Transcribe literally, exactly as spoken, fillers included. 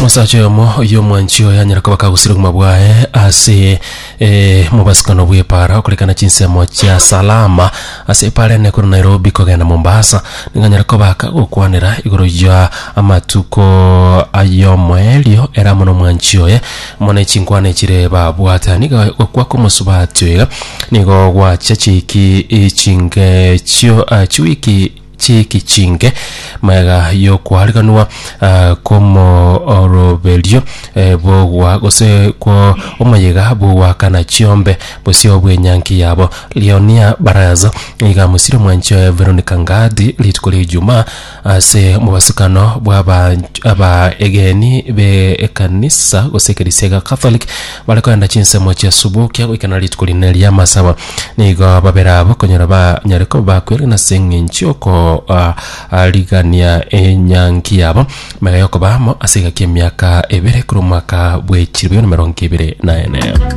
Omosacha oyomo oyio omwanchi oyo anyare koba kagosira obogima bwaye ase eh, mobasikano bw'epara okorekana chinsemo chia Salama ase epara ene korwa Nairobi kogenda Mombasa nigo anyare koba kagokwanera igoro ya amatuko ayomoerio ere amo na omwanchi oye amo ne chinkwana echire babwate. Nigo gokwa kw'omosubati oyo iga nigo gwachia chiki chinge chio ah, chiwiki chiiki chinke magega y'okoariganwa kw'omooroberio bw'ogwa gose kwo omoyega bw'ogoakana chiombe bosio bw'enyangi yabo. Leonia Baraza nigo amosire omwanchi oye Veronica Ngadi rituko ria Ijumaa ase omobasukano bw'abaegeni b'ekanisa gose ekerisia gia Catholic bare kogenda chinsemo chia Subukia goikera rituko rinene ri'amasabo. Nigo babere abo konyora banyare koba bakwerena ase eng'encho y'okoarigania enyangi yabo magega y'okoba amo ase egaki y'emiaka ebere korwa omwaka bwe chilifu bibere na emerongo ebere na ene.